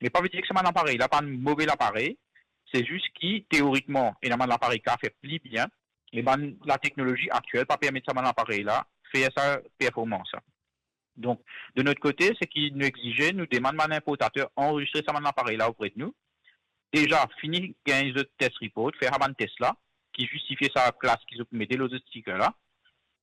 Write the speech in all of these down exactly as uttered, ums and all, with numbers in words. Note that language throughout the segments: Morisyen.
Me pa vedir ki sa bann aparey la pa enn move laparey, se zis ki teorikman ena bann laparey ki kapav fer pli bien, me bann lateknolozi aktiel pa permet sa bann aparey la fer sa performans la. Donk, de not kote, seki nou exize, nou demann bann inportater anrezistre sa bann aparey la opre de nou. Deza, fini gagn zot test report, fer sa bann test la, ki zistifie sa klas ki zot pou mete lor zot sticker la.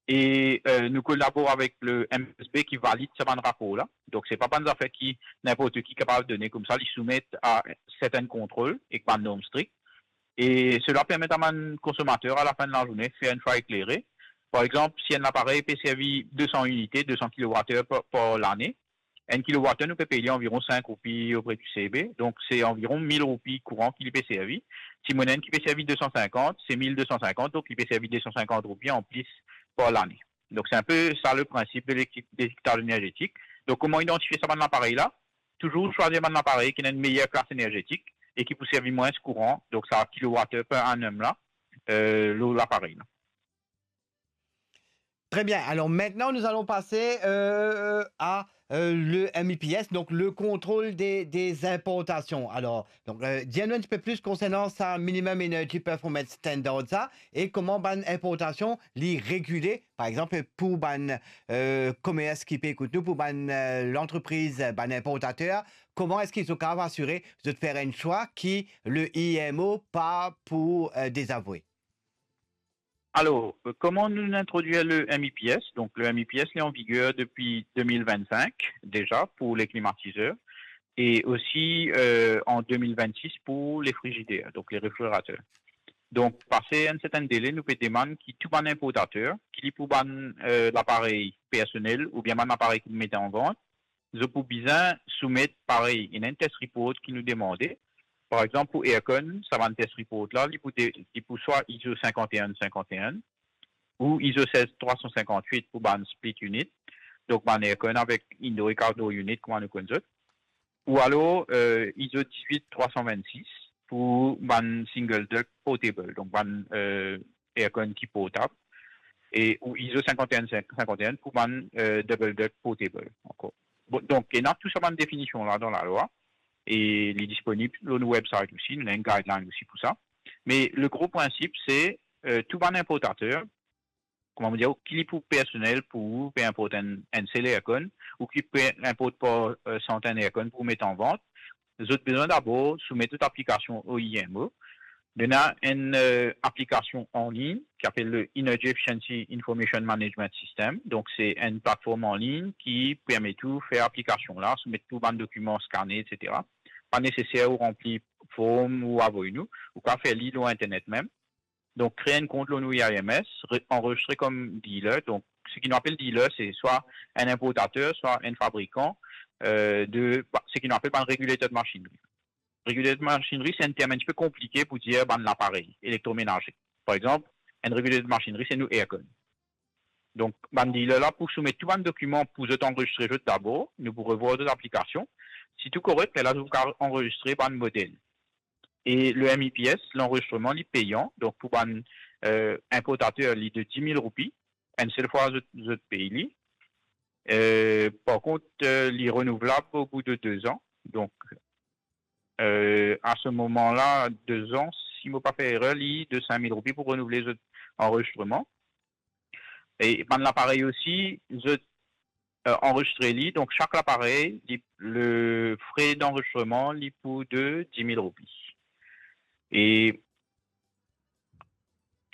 E, euh, nou kolabor avek le M S B ki valid sa bann rapor la. Donk, se pa bann zafer ki ninport ki kapav done koumsa, li soumet a sertenn kontrol ek bann norm strik. E sela permet a bann konsomater, a lafin de lazourne, fer enn chwa eklere. Par exanp, si enn aparey pe servi de san inite, de san kilowat-er par, par lane, enn kilowat-er, nou pe pey li anviron sink roupi opre di C B, donk se anviron mil roupi kouran ki li pe servi. Si mo ena enn ki pe servi de san sinkant, se mil de san sinkant, donk li pe servi de san sinkant roupi anplis par lane. Donk, se enpe sa le prinsip de leti-, letiketaj enerzetik. Donk, kouma idantifie sa bann aparey la? Touzour swazir bann aparey ki ena enn meyer klas enerzetik e ki pou servi mwins kouran, donk sa kilowat-er per annum la, euh, lor laparey la. Très bien. Alors maintenant, nous allons passer euh, à euh, le M E P S, donc le contrôle des, des importations. Alors, donc, euh, dis-nous un petit peu plus concernant ça, Minimum Energy Performance Standard, ça, et comment bann importation li régulé, par exemple, pour bann euh, commerce qui peut écouter nous, pour bann euh, l'entreprise, bann importateur, comment est-ce qu'ils sont capables d'assurer de faire un choix qui le I M O pas pour euh, désavouer? Alor, euh, kouma nou introdwir le M E P S? Donk, le M E P S, li an viger depi de mil vennsink, deza, pou le klimatizer, e osi, euh, an de mil vennsis pou le frizider, donk le refrigerater. Donk, pase enn sertenn dele, nou pe demann ki tou bann inportater, ki li pou bann, euh, laparey personel oubien bann laparey ki pou mete an vant, zot pou bizin soumet parey, ena enn test report ki nou demande. Par exanp, pou aircon, sa bann test report la, li pou de, li pou swa ISO sinkant e enn sinkant e enn ou ISO sez trwa san sinkant wit pou bann split unit, donk bann aircon avek indoor ek outdoor unit, kouma nou konn zot, ou alor, euh, ISO diz-wit trwa san vennsis pou bann single duct portable, donk bann, euh, aircon ki portab, e ou ISO sinkant e enn sinkant e enn pou bann, euh, double duct portable ankor. Bon, donk, ena tou sa bann definision la dan lalwa, e li disponib lor nou website osi, nou ena enn guideline osi pou sa. Me le gro prinsip, se, euh, tou bann inportater, kouma mo dir, ki li pou personel pou ou, pe inport enn, enn sel aircon, ou ki pe inport par, euh, santenn aircon pou met an vant, zot bizin dabor soumet zot aplikasion o I M O. Ena enn, euh, aplikasion anlign ki apel le Energy Efficiency Information Management System. Donk, se enn platform anlign ki permet ou fer aplikasion la, soumet tou bann dokiman, skane, et cetera. Pa neseser ou ranpli form ou avoy nou, ou kapav fer li lor internet mem. Donk, kre enn kont lor nou I R M S, re-, anrezistre kom dealer. Donk, seki nou apel dealer, se swa enn inportater, swa enn fabrikan, euh, de, ba, seki nou apel bann regulated machinery. Regulated machinery, se enn term enn tipe konplike pou dir bann laparey elektromenaze. Par exanp, enn regulated machinery, se nou aircon. Donk, bann dealer la pou soumet tou bann dokiman pou zot anrezistre zot dabor, nou pou revwar zot aplikasion. Si tou korek, lerla zot pou kapav anrezistre bann model. E le M E P S, lanrezistreman, li peyan. Donk, pou bann, euh, inportater, li de diz mil roupi. Enn sel fwa, zot, zot pey li. Euh, par kont, euh, li renouvlab o bou de de zan. Donk, euh, a se moman la, de zan, si mo pa fer erer, li de sink mil roupi pou renouvle zot anrezistreman. E bann laparey osi, zot, euh, anrezistre li. Donk, sak laparey, li, le fre d'anrezistreman, li pou de diz mil roupi. E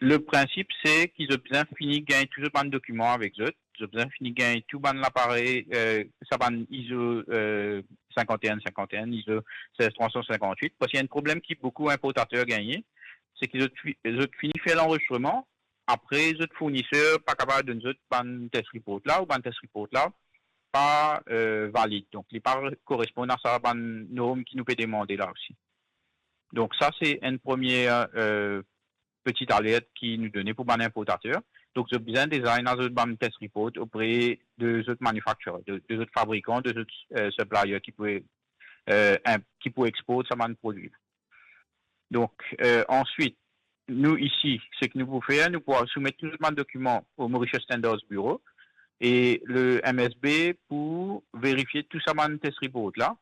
le prinsip, se ki zot bizin fini gagn tou zot bann dokiman avek zot. Zot bizin fini gagn tou bann laparey, euh, sa bann ISO, euh, sinkant e enn sinkant e enn, ISO sez trwa san sinkant wit. Parski enn problem ki boukou inportater gagne, se ki zot fi-, zot fini fer lanrezistreman, apre zot fourniser pa kapav donn zot bann test report la, ou bann test report la pa, euh, valid. Donk, li pa re-, koresponn a sa bann norm ki nou pe demande la osi. Donk, sa, se enn premie, euh, peti alert ki nou done pou bann inportater. Donk, zot bizin deza ena zot bann test report opre de zot manufacturer, de, de zot fabrikan, de zot, euh, supplier ki pou, euh, inp-, ki pou export sa bann prodwi. Donk, euh, answit, nou isi, seki nou pou fer, nou pou soumet tou zot bann dokiman o Mauritius Standards Bureau, e le M S B pou verifie tou sa bann test report la,